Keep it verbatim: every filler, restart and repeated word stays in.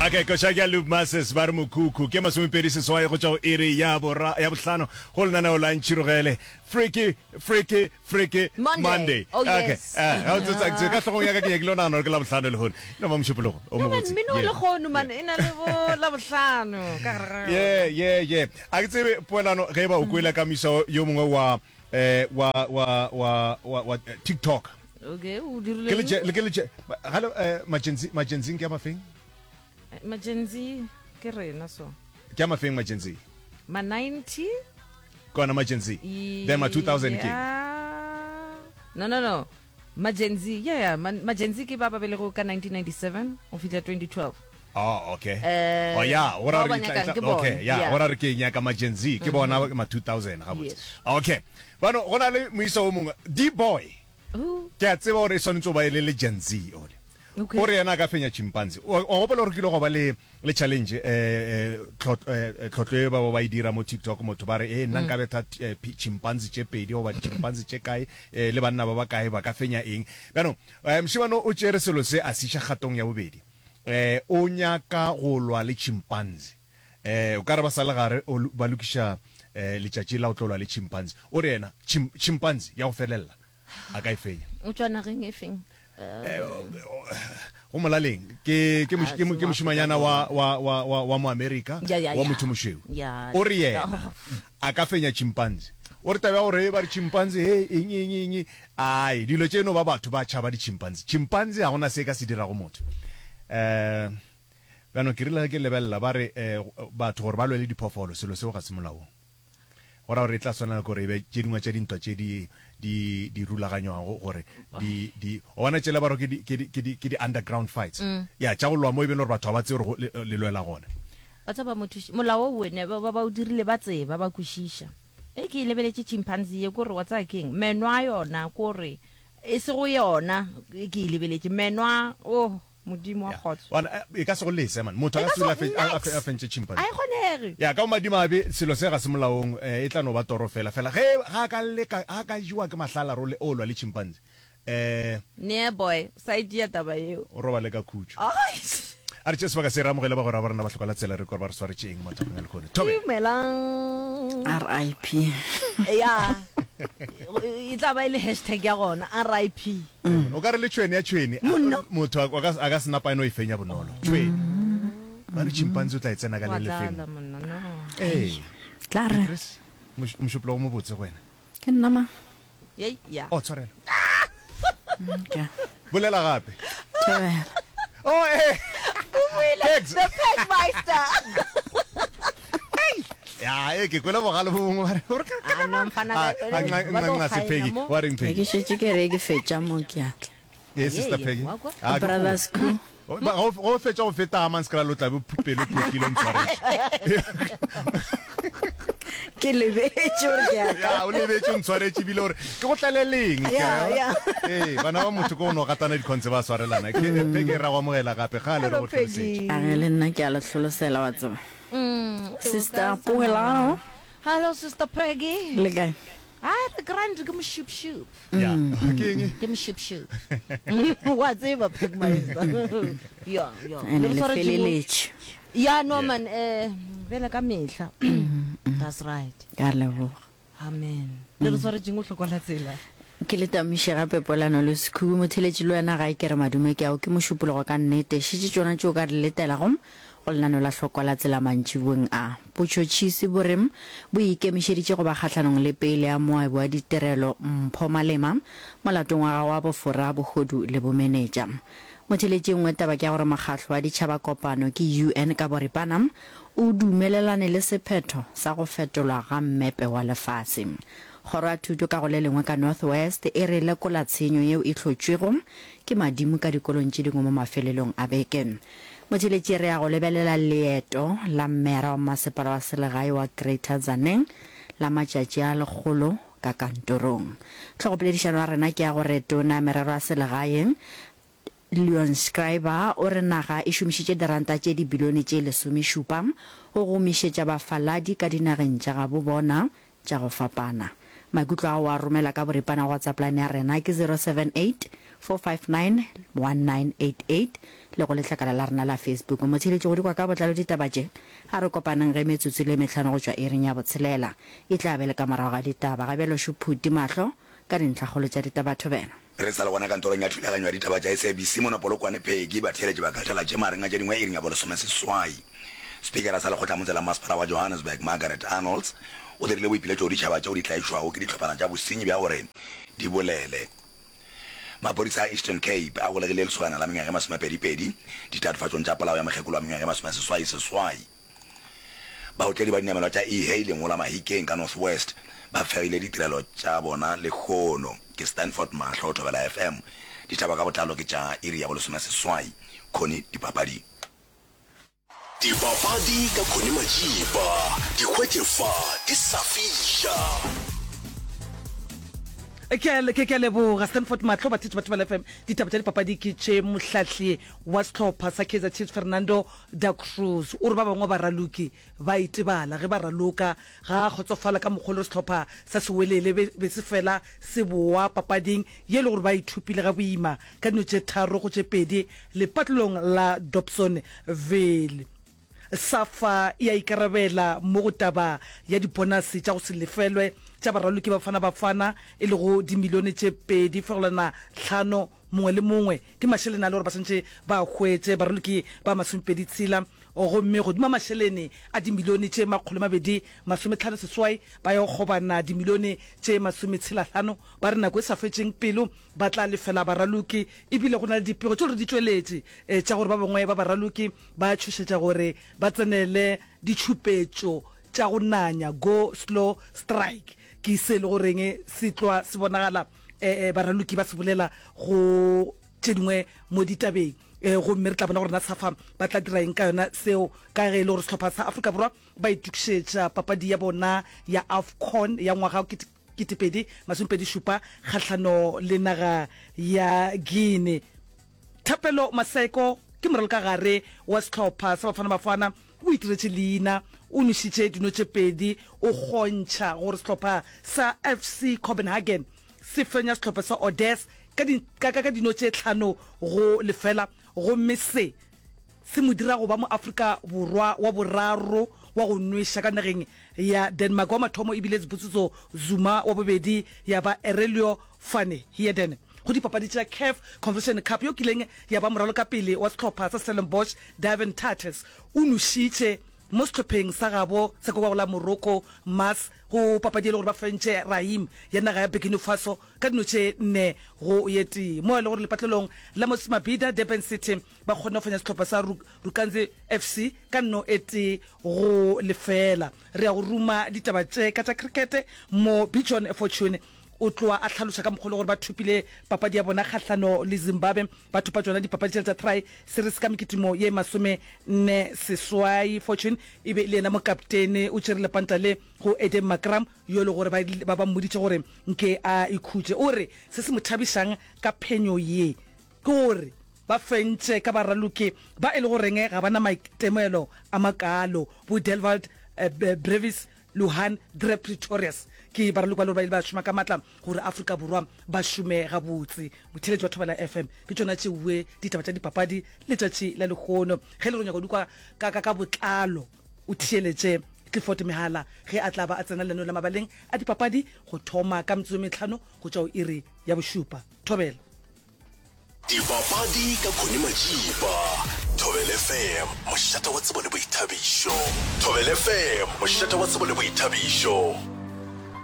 Okay, koša ke ya Loop Masses ba re mokhukhu ke masomepedi seswai go tšwa go iri ya bora ya bohlano go lenaneo la Ntšhirogele Freaky Freaky Freaky Monday. Monday. Oh, Okay. yes. Eh, ga o tsotsa ke ka hlogong ya ka ke nyakile go nagana gore ke la bohlano lehono. No ba mošupologo o No man, mobotse. mmino wa Yeah. lehono man e na le bo labohlano ka gare ga yona. Yeah, yeah, yeah. A ke tsebe poelano ge e ba o kwele ka moisa yo mongwe wa eh wa wa wa wa, wa eh, TikTok. Okay, o Ke dirile le eng? le ke le ga le eh Majenzi Majenzing ke a mafeng? Majenzi ke rena so. Ke a mafeng Majenzi? Ma ninety Kona Majenzi. Then ma two thousand ke. Yeah. No no no. Majenzi, yeah, yeah. Ma, Majenzi ke ba ba belego ka nineteen ninety-seven go fihla twenty twelve. Oh, okay. Eh, Oh yeah, o ra bao ba re tla- nyakang tla- ke bona. okay, yeah, Yeah. o ra re ke nyaka Majenzi, ke bona ma two thousand gabotse. Yes. Okay. Bano go na le moisa o mongwe, D-boy. Who? Ke a tseba gore e swanetše go ba e le le Gen Z ole. Okay. O re yena a ka fenya chimpanzee. O o gopola gore ke ile go ba le le challenge eh eh tlhot- eh, eh, tlhotlo e ba ba ba e dira mo TikTok motho ba re eh nna nka betha eh, pi- chimpanzee tše pedi goba chimpanzee tše kae eh, le banna ba ba kae ba ka fenya eng. Bjano eh, mošemane o tšere selo se a se iša kgatong ya bobedi. Eh o nyaka go lwa le chimpanzee. Eh o ka re ba sa le gare o ba lokiša eh letšatši la o tlo lwa le chimpanzee. O re yena chim, chimpanzee ya go felella a ka e fenya. O tšwa nageng e feng? Go molaleng ke ke moš- ke mo- ke mošimanyana wa wa wa wa wa mo America Ya, ya, wa ya. motho mošweu. Ya. O re yena a ka fenya chimpanzee. O re taba ya gore ba re chimpanzee he eng eng eng ai dilo tše no ba batho ba tšhaba di chimpanzee. Chimpanzee ha gona se ka se dirago motho. Eh bjano ke rile ge ke lebelela ba re eh, batho gore ba lwele diphoofolo selo seo ga se molaong. Go ra gore e tla swanela ke gore e be tše dingwe tša dintwa tše di di di rulaganywago gore di di o bona tšela ba re ke di ke di ke di ke di underground fights. Ya tša go lwa mo e be le gore batho ga ba tsebe gore go le, le lwela gona. Ba tseba motho molao o wene ba ba o dirile ba tseba ba kwešiša. E ke e lebeletše chimpanzee ye kore wa tsaya keng meno a yona kore e se go yona e ke e lebeletše meno a oh modimo wa kgotso. Bona e ka se go lese man motho a E ka ka se dula se a fe- a nex. a fentše chimpanzee. A e kgonege. Ya ka madimabe selo se ga se molaong eh, e tla no ba toro fela fela ge ga ka leka ga ka jewa ke mahlala role o lwa le chimpanzee eh Nee boy sa itia taba yeo. o robale ka khutšo. Ai. A re tše sebaka se re amogele bagwera ba rena ba hloka la tsela re kore ba re swaretše eng mathapeng a lehono. Thobela. Dumelang. R I P. Ya. E tla ba e le hashtag ya gona R I P. O ka re le tšhwene ya tšhwene Monna. motho a ka a ka se napa eno e fenya bonolo. Tšhwene. Ba re chimpanzee o tla e tsena ka Wa le lefeng. tlala monna no. Eh. Tla re. Chris, moš- mošupologo mo botse go wena. Ke nna ma. Yei ya. Oh tshwarelo. Okay. Bolela gape. Thobela. Oh eh. Pegs. The Pegmeister. Ya, e ke kwele bogale bo bongwe ba re gore ka Ah, no, mfana Ah, ka- ah, nxa- ba tlo nxa- nxa se kgaena Peggy. mo. Wa reng Ke Peggy? šetše ke re ke fetša mo ke atla. Eh, sister Ye, ye, Peggy. wa kwa? Ah, ke Brothers go- crew. O- ba- go go fetša go feta Hammanskraal o tla be pelo phokile o ntshwaretše. Ke lebetše gore ke a Ya, o lebetše o ntshwaretše ebile gore ke go tlaleleng. Ya, ya. Eh, bana ba motho ke o no gatana dikhonse ba swarelana. Ke Peggy ra go amogela gape ga le re Hello go hlolosetše. Peggy. A ge le nna ke a le hlolosela wa tseba. Mm, Sister Poelano. Hello Sister Peggy. Le kae? Ah, the grand ke mošupšup. Ya. Ke eng? Ke mošupšup. Wa tseba Pegmeister. Ya, ya. Ene Le le re swaretše mo- feleletše. Ya no man eh bele ka mehla. That's right. Ka leboga. Amen. Le re swaretšeng o hlokola tsela. Ke le tamiše gape polano le sekhubu motheletši le wena gae ke re madume ke ao ke mošupologo ka nnete šetše tšona tšeo ka di letelago go lenano la hlokwa la tsela mantšiboeng a botšhotšhisi bo re bo ikemišeditše go ba kgahlanong le pele ya moabi wa ditirelo Mpho Malema molatong wa gagwe wa bofora bohodu le bomenetša. Motheletši e nngwe taba ke ya gore mokgahlo wa ditšhaba kopano ke U N ka boripana o dumelelane le sephetho sa go fetolwa ga mmepe wa lefase. Kgoro ya thuto ka go le lengwe ka North West e re lekola tshenyo yeo e hlotšwego ke madimo ka dikolong tše dingwe mo mafelelong a beke. Motheletši re ya go lebelela leeto la mmera wa masepala wa selegae wa Greater Tzaneen la matšatši a lekgolo ka kantorong. Tlhogopoledišano ya rena ke ya gore tona merero ya selegae Leon Schreiber o re naga e šomišitše diranta tše dibilione tše lesomešupa go gomišetša bafaladi ka dinageng tša gabo bona tša go fapana. Maikutlo ao a romela ka boripana go WhatsApp line ya rena ke zero seven eight four five nine one nine eight eight le go letlakala la rena la Facebook. Motheeletši go di kwa ka botlalo ditaba tše, a re kopaneng ge metsotso e le mehlano go tšwa iring ya botshelela. E tla be le ka morago ga ditaba. Ga bjalo Šuphuti mahlo ka dintlhakgolo tša ditaba thobela. Re sa le gona kantorong ya thulaganyo ya ditaba tša S A B C mono Polokwane Peggy, batheeletši ba ka thala tše magareng a tše dingwe iring ya bolesomeseswai. Spikara sa lekgotlamotse la masepala wa Johannesburg Margaret Arnolds o dirile boipiletšo go ditšhaba tšeo di tlaišwago ke dihlophana tša bosenyi bja gore di bolele. Maphodisa a Eastern Cape a golegile lesogana la mengwaga e masomepedi-pedi ditatofatšong tša polao ya mokgekolo wa mengwaga e masomeseswai-seswai. Baotledi ba dinamelwa tša e-hailing go la Mahikeng ka North West ba fegile ditirelo tša bona lehono. Ke Stanford Mahlo, Thobela F M. Ditaba ka botlalo ke tša iri ya bolesomeseswai. Connie, Dipapading. Dipapadi ka Connie Majiba, di hwetše fa di sa fiša. Ke a, ke, ke a leboga Stanford Mahlo, batheetši ba Thobela F M. Ditaba tša dipapadi ke tše. Mohlahli wa sehlopha sa Kaizer Chiefs Fernando Da Cruz o re ba bangwe ba baraloki ba itebala ge ba raloka. Ga a kgotsofala ka mokgwa o le gore sehlopha sa Sewelele be, be se fela se boa papading ye e le gore ba ithupile ga boima ka dino tše tharo go tše pedi lepatlelong la Dobsonville. SAFA e a ikarabela mo go taba ya dibonase tša go se lefelwe tša baraloki ba Bafana Bafana e lego dimilione tše pedi fegelwana hlano mongwe le mongwe. Ke mašeleni a le gore ba swantše ba a hwetše baraloki ba masomepedi tshela, gomme godimo ga mašeleni a dimilione tše makgolo mabedi masometlhano seswai ba ya go kgobana dimilione tše masometshela hlano. Ba re nako e sa fetšeng pelo ba tla lefela baraloki, ebile go na le dipego tše gore di tšweletše tša gore ba bangwe ba baraloki ba tšhošetša gore ba tsenele ditšhupetšo tša go nanya, go slow strike. Ke se e le goreng se tlwa se bonagala baraloki ba se bolela go tše dingwe mo ditabeng, gomme re tla bona gore na SAFA ba tla dira eng ka yona seo, ka ge e le gore sehlopha sa Afrika Borwa ba itokišetša papadi ya bona ya AFCON ya ngwaga ketepedi masomepedi šupa kgahlano le naga ya Guinea. Thapelo Maseko ke moralokagare wa sehlopha sa Bafana Bafana, o itiretše leina, o nwešitše dino tše pedi, o kgontšha gore sehlopha sa F C Copenhagen se fenya sehlopha sa Odessa ka di, ka, ka, ka dino tše hlano go lefela, gomme se se mo dira go ba Moafrika Borwa wa boraro wa go nweša ka nageng ya Denmark. Wa mathomo e bile Sibusiso Zuma, wa bobedi ya ba Aurelio van Heerden. Go dipapadi tša CAF Confederation Cup, yo kileng ya ba moralokapele wa sehlopha sa Stellenbosch Devin Tates o nwešitše mo sehlopheng sa gabo sa kwa go la Morocco Mars go papadi e le gore ba fentše Rahim ya naga ya Burkina Faso ka dino tše nne go ye tee. Mo e le gore lepatlelong la Moses Mabhida, Durban City ba kgonne go fenya sehlopha sa Rukanzi F C ka nno e tee go lefela. Re ya go ruma ditaba tše ka tša krikete mo Bijon Fortune o tloa a hlaloša ka mokgwa le gore ba thopile papadi ya bona kgahlano le Zimbabwe, ba thopa tšona dipapadi tšela tša Tri Series ka mekitimo ye masome nne seswai. Fortune e be e le yena mokaptene, o tšere lepanta le go Eden Makram yo e le gore ba ba ba mmoditše gore nke a ikhutše. O re se se mo thabišang ka phenyo ye ke gore ba fentše ka baraloki ba e le goreng ga ba na maitemogelo a makalo, bo Delwald Brevis, Luhan Dre Pretorius ke baraloki ba le gore ba ile ba šoma ka matla gore Afrika Borwa ba šome gabotse. Motheeletši wa Thobela F M, ke tšona tšeoe ditaba tša dipapadi letšatši la lehono. Ge e le gore o nyaka go di kwa ka, ka, ka botlalo, o theeletše Clifford Mehala ge a tla ba a tsena lenaneo la mabaleng a dipapadi go thoma ka metsotso e mehlano go tšwa go iri ya bošupa. Thobela. Dipapadi ka Connie Majiba. Thobela F M, mošate wa tsebo le boithabišo. Thobela F M, mošate wa tsebo le boithabišo.